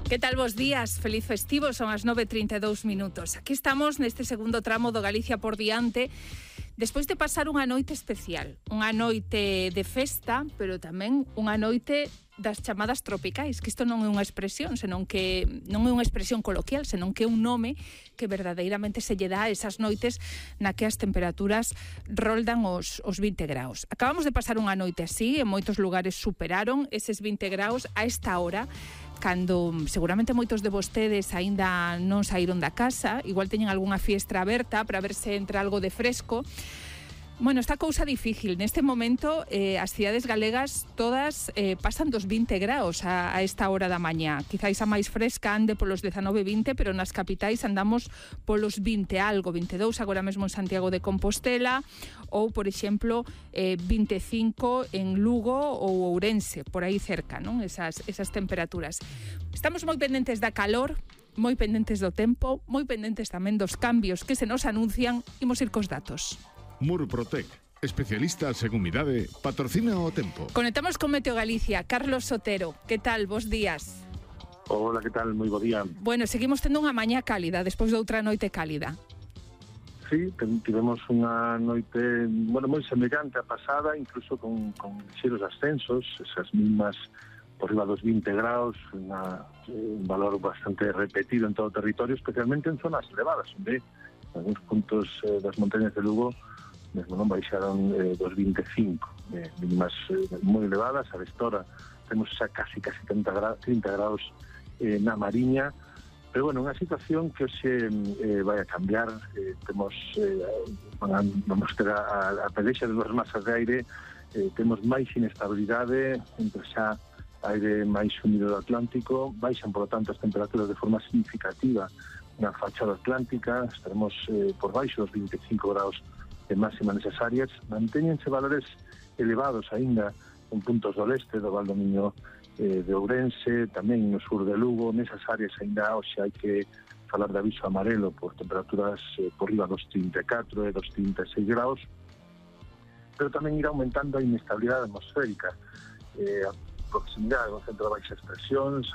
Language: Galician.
Que tal vos días? Feliz festivo, son as 9:32. Aquí estamos neste segundo tramo do Galicia por diante, despois de pasar unha noite especial, unha noite de festa, pero tamén unha noite das chamadas tropicais, que isto non é unha expresión, senón que non é unha expresión coloquial, senón que é un nome que verdadeiramente se lle dá a esas noites na que as temperaturas roldan os 20 graus. Acabamos de pasar unha noite así, en moitos lugares superaron eses 20 graus a esta hora, cando seguramente moitos de vostedes aínda non saíron da casa, igual teñen algunha fiestra aberta para ver se entra algo de fresco. Bueno, esta cousa difícil. Neste momento, as cidades galegas todas pasan dos 20 graus a esta hora da mañá. Quizáis a máis fresca ande polos 19-20, pero nas capitais andamos polos 20 algo, 22 agora mesmo en Santiago de Compostela, ou, por exemplo, 25 en Lugo ou Ourense, por aí cerca, non? Esas temperaturas. Estamos moi pendentes da calor, moi pendentes do tempo, moi pendentes tamén dos cambios que se nos anuncian. Imos ir cos datos. Murprotec, especialistas en humidade, patrocina o tempo. Conectamos con Meteo Galicia. Carlos Sotero, que tal? Bos días. Hola, que tal? Moi bo día. Bueno, seguimos tendo unha mañá cálida despois de outra noite cálida. Sí, tivemos unha noite, moi semellante a pasada, incluso con xeros ascensos, esas mínimas por riba dos 20 graus, un valor bastante repetido en todo o territorio, especialmente en zonas elevadas, onde algúns puntos das montañas de Lugo mesmo non baixaron dos 25, mínimas moi elevadas. A vestora temos xa casi 30 graus na Mariña, pero bueno, unha situación que hoxe vai a cambiar. Vamos ter a pelexa de duas masas de aire, temos máis inestabilidade, entre xa aire máis húmido do Atlántico, baixan, por lo tanto, as temperaturas de forma significativa na fachada atlántica, estaremos por baixo dos 25 graus de máxima nesas áreas. Mantéñense valores elevados aínda en puntos do leste, do Val do Miño, de Ourense, tamén no sur de Lugo. Nesas áreas aínda hoxe hai que falar de aviso amarelo por temperaturas por riba dos 34 e dos 36 graus, pero tamén irá aumentando a inestabilidade atmosférica. A proximidade do centro de baixas presións,